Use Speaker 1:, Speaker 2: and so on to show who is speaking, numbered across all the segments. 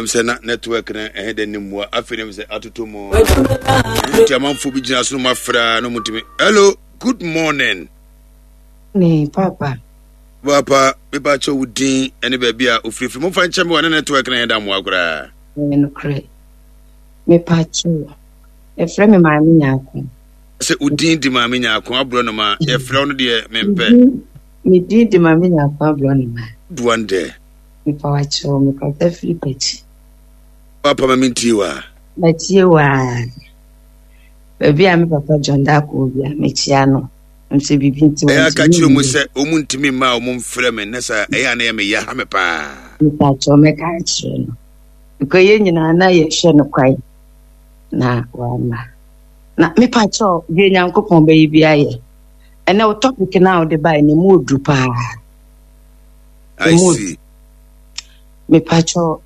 Speaker 1: Ɛm sɛ na network no ɛhe dɛ ne mmua afei na sɛ atoto mu nti amanfoɔ bi gyina so no mafra no mutumi. Hello, good morning.
Speaker 2: Ne papa.
Speaker 1: Papa, mepa kyɛ wo din ne baabi a ofirifiri. Momfa nkyɛ me wɔ ne network no ɛhe da mmoa koraa.
Speaker 2: Ɛyɛ nokorɛ. Mepa kyɛw. Yɛfrɛ me Maame Nyaako.
Speaker 1: Sɛ wo din di Maame Nyaako aborɔnoma, yɛfrɛ wo no deɛ mempɛ.
Speaker 2: Me din di Maame Nyaako aborɔnoma.
Speaker 1: Duan dɛ.
Speaker 2: Mepa wo kyɛw, mekasa firi Pakyi.
Speaker 1: Papa ma mentie wo a.
Speaker 2: Matie wo a. Baabi a me papa John Darko wɔ bia, mekyia no. Nso biribi nti
Speaker 1: Ɛyɛ aka kyerɛ mu sɛ wɔn ntumi mma a wɔn mfrɛ me ne sɛ ɛyɛ a na ɛyɛ me ya ha me paa.
Speaker 2: Mepa kyɛw mɛka akyerɛ no. Because yɛn nyinaa na yɛhwɛ no kwan na wama. Na mepa kyɛw deɛ Nyankopɔn bɛyɛ bi ayɛ. Ɛnɛ wo topic no a wode bae no mu odu paa.
Speaker 1: I see.
Speaker 2: Mepakyɛw,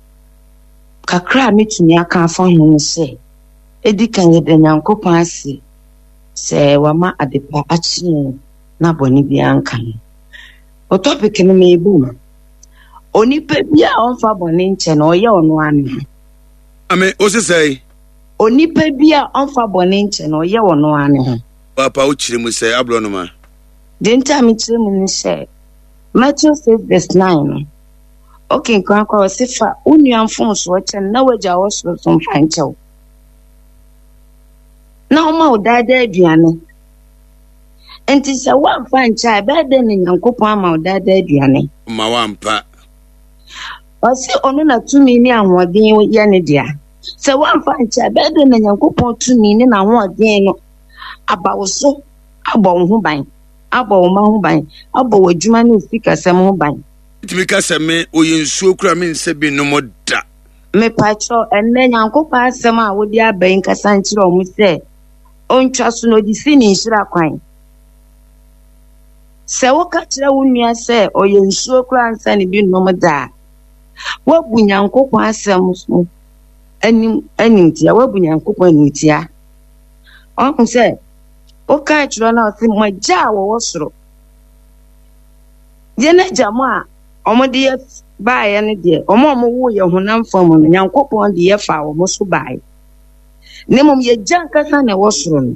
Speaker 2: kakra a metumi aka afa ho ne sɛ, edi kan yɛda Nyankopɔn ase sɛ wama adepa akye yɛn na bɔne biara nka ho. Wo topic no meebɔ mu. Onipa bi a ɔmfa bɔne nkyɛ no, ɔyɛ ɔno ara ne ho.
Speaker 1: Ame, wo se sɛe?
Speaker 2: Onipa bi a ɔmfa bɔne nkyɛ no, ɔyɛ ɔno ara ne ho.
Speaker 1: Papa, wokyerɛ mu sɛ aborɔnoma?
Speaker 2: Deɛ nti a mekyerɛ mu ne sɛ, Matthew 6 verse 9 no, wokenkan kɔ a ɔse fa wo nua mfomsoɔ kyɛ no na w'agya a ɔwɔ soro nso mfa nkyɛ wo. Na ɔma wo daadaa aduane. Nti sɛ woamfa nkyɛ a ɛbɛyɛ dɛn na Nyankopɔn ama wo daadaa aduane?
Speaker 1: Ma woampa.
Speaker 2: Ɔse ɔno na tumi ne ahoɔden yɛ ne dea. Sɛ woamfa nkyɛ a ɛbɛyɛ dɛn na Nyankopɔn tumi ne n'ahoɔden no aba wo so abɔ wo ho ban? abɔ wo mma ho ban, abɔ w'adwuma ne wo sikasɛm ho ban.
Speaker 1: Wotumi ka sɛ me ɔyɛ nsuo kura me nsɛ bi nom da.
Speaker 2: Mepakyɛw, ɛnnɛ Nyankopɔn asɛm a wode aba yi nkasa nkyerɛ wɔn sɛ ontwa so na ɔde si ne nhyira kwan. Sɛ woka kyerɛ wo nua sɛ ɔyɛ nsuo koraa nsa ne bi nom da a, woabu Nyankopɔn asɛm so anim animtia, woabu Nyankopɔn animtia. Ɔhu sɛ Woka kyerɛ no a ɔse mo agya a wɔwɔ soro. Yɛn agya mo a wɔde yɛ baeɛ no deɛ, wɔn a wɔwoo yɛ honam fam no, Nyankopɔn de yɛ faa wɔn so baeɛ. Na mmom yɛgya ankasa na ɛwɔ soro no.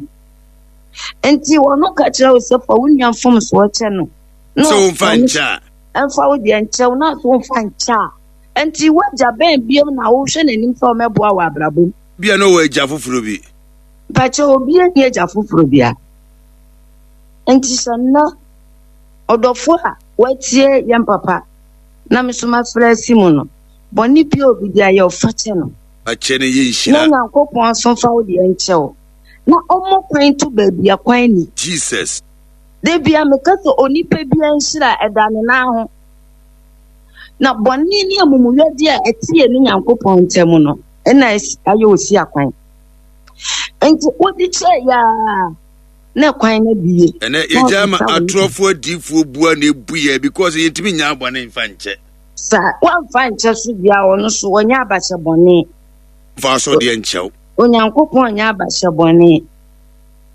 Speaker 2: Nti wɔn ka kyerɛ wo sɛ fa wo nua mfomsoɔ kyɛ no.
Speaker 1: Na sɛ womfa nkyɛ a.
Speaker 2: Ɛmfa wo deɛ nkyɛ wo na so womfa nkyɛ a. Nti w'agya bɛn biom na wohwɛ n'anim sɛ ɔmɛboa wɔ abrabɔ mu.
Speaker 1: Bia na ɔwɔ agya foforɔ bi.
Speaker 2: Mpakyɛ obiara nni agya foforɔ bia. Nti sɛ nnɛ ɔdɔfoɔ a watie yɛn papa na me nso mafrɛ asi mu no, bɔne bi a obi de ayɛ wo fa kyɛ no.
Speaker 1: Fakyɛ no yɛ nhyira.
Speaker 2: Na Nyankopɔn nso mfa wo deɛ nkyɛ wo. Na ɔmmɔ kwan nto baabi a kwan nni.
Speaker 1: Jesus.
Speaker 2: Da bia meka sɛ onipa bia nhyira ɛda ne nan ho. Na bɔne ne amumuyɔdeɛ a ɛte yɛne Nyankopɔn ntam no ɛna ayɛ osi akwan. Nti wode kyerɛ yɛ a na kwan no abie.
Speaker 1: Ɛnɛ yɛgya ma atorɔfoɔ adiifoɔ bua na ebu yɛ because yɛntumi nya bɔne mfa nkyɛ.
Speaker 2: Sa wamfa nkyɛ so bia ɔno so ɔnyɛ abahyɛ bɔne.
Speaker 1: Fa so deɛ nkyɛw.
Speaker 2: Onyankopɔn nyɛ abahyɛ bɔne.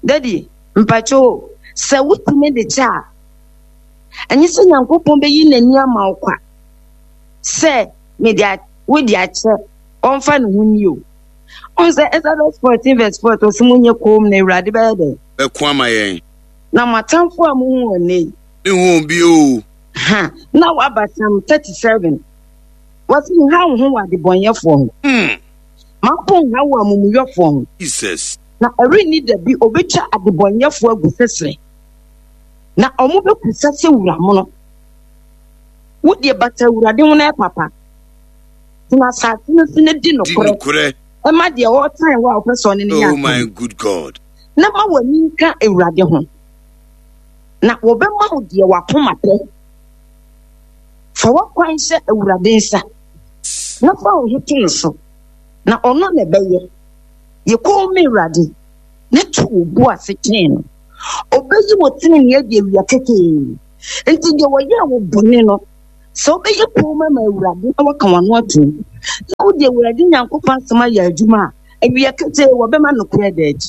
Speaker 2: Daddy, mpakyɛ sɛ wotumi de kyɛ a, ɛnyɛ sɛ Nyankopɔn bɛyi n'ani ama wo kwa sɛ mede wode akyɛ ɔmfa ne ho ni o. Ɔn sɛ Exodus 14 verse 4 ɔsɛ mo nyɛ koom na Awurade bɛyɛ dɛn?
Speaker 1: Bɛko ama yɛn.
Speaker 2: Na mo atamfo a mohu wɔn nnɛ yi.
Speaker 1: Mehu wɔn bio o.
Speaker 2: Ha, na waba Psalm 37. Wɔsi nha wo ho wɔ adebɔnyɛfoɔ ho. Ma mpo nha wo amumuyɔfoɔ ho.
Speaker 1: Jesus.
Speaker 2: Na ɛrenni da bi obetwa adebɔnyɛfoɔ agu sɛsrɛ. Na wɔn bɛkusa sɛ wura mono. Wo deɛ bata Awurade ho na ɛpapa. Tena asase no so na di nokorɛ. Ɛma deɛ ɔretan wo a wopɛ sɛ ɔne no yɛ
Speaker 1: Oh my good God.
Speaker 2: Na ma w'ani nka Awurade ho, na wɔbɛma wo deɛ w'akoma pɛ. Fa w'akwan hyɛ Awurade nsa, na fa wo ho to no so, na ɔno na ɛbɛyɛ. Yɛ komm ma Awurade, na to wo bo ase twɛn no. Ɔbɛyi wo tenenee adi awia ketee. Enti deɛ wɔyɛɛ wo bɔne no, Sɛ wobɛyɛ komm ama Awurade na woaka w'ano atom, na wode Awurade Nyankopɔn asɛm ayɛ adwuma a, awia ketee wɔbɛma nokorɛ ada adi.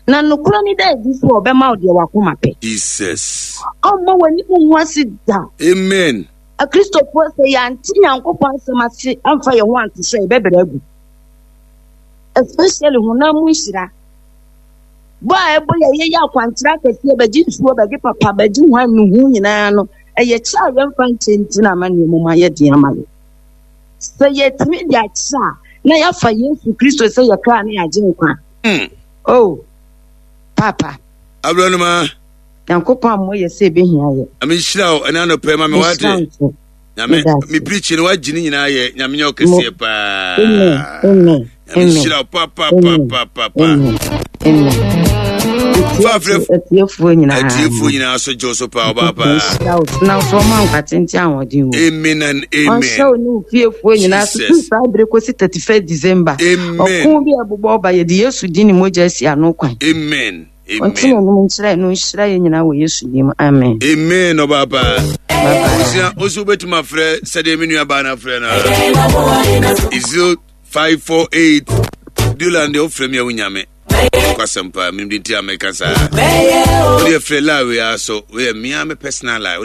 Speaker 2: Na nokorɛ no da adi sɛ ɔbɛma wo deɛ w'akoma pɛ.
Speaker 1: Jesus.
Speaker 2: Ɔmma w'anim ngu ase da.
Speaker 1: Amen.
Speaker 2: Akristofoɔ sɛ yɛante Nyankopɔn asɛm ase amfa yɛn ho anto so a yɛbɛbrɛ agu. Especially honam mu nhyira. Bɔ a ɛbɔ yɛ yɛyɛ akwankyerɛ akɛseɛ bɛgye nsuo bɛgye papa bɛgye hwan nuhu nyinaa no ɛyɛ kyɛ a yɛmfa nkyɛ nti na ama nneɛma mu ayɛ den ama yɛ. Sɛ yɛtumi de akyɛ a na yɛafa Yesu Kristo sɛ yɛ kra ne yɛagye nkwa. Oh, Papa.
Speaker 1: Abrɔnoma.
Speaker 2: Nyankopɔn ammɔ yɛ sɛ ebehia yɛ.
Speaker 1: Nyame nhyira wo ɛna anɔpɛ ma me wate. Nyame me preach no wagye ne nyinaa yɛ Nyame nyɛ ɔkɛseɛ paa.
Speaker 2: Amen. Amen.
Speaker 1: Nyame nhyira wo pa pa pa pa pa pa.
Speaker 2: Amen.
Speaker 1: Fafrɛ
Speaker 2: atiefoɔ nyinaa.
Speaker 1: Atiefoɔ nyinaa so gye so paa ɔbaa paa.
Speaker 2: Nhyira wo na so ɔma nkwa tenten ahoɔden wo.
Speaker 1: Amen and amen.
Speaker 2: Ɔnhyɛ wo ne wo fiefoɔ nyinaa so firi saa bere kɔsi 31 December.
Speaker 1: Amen.
Speaker 2: Ɔko bi a ɛbobɔ ɔba yɛde Yesu din ne mogya asi ano kwan.
Speaker 1: Amen.
Speaker 2: Ɔnte n'anim nkyerɛ no nhyira yɛn nyinaa wɔ Yesu din mu. Amen.
Speaker 1: Amen ɔbaa paa. Osua osu wobɛtumi afrɛ sɛdeɛ me nua baa no afrɛ no. 0548 Dulan deɛ wofrɛ me a wonya me. Kwasɛm paa menim de nti a meka saa. Wodeɛ frɛ la wei ara so woyɛ mea me personal line.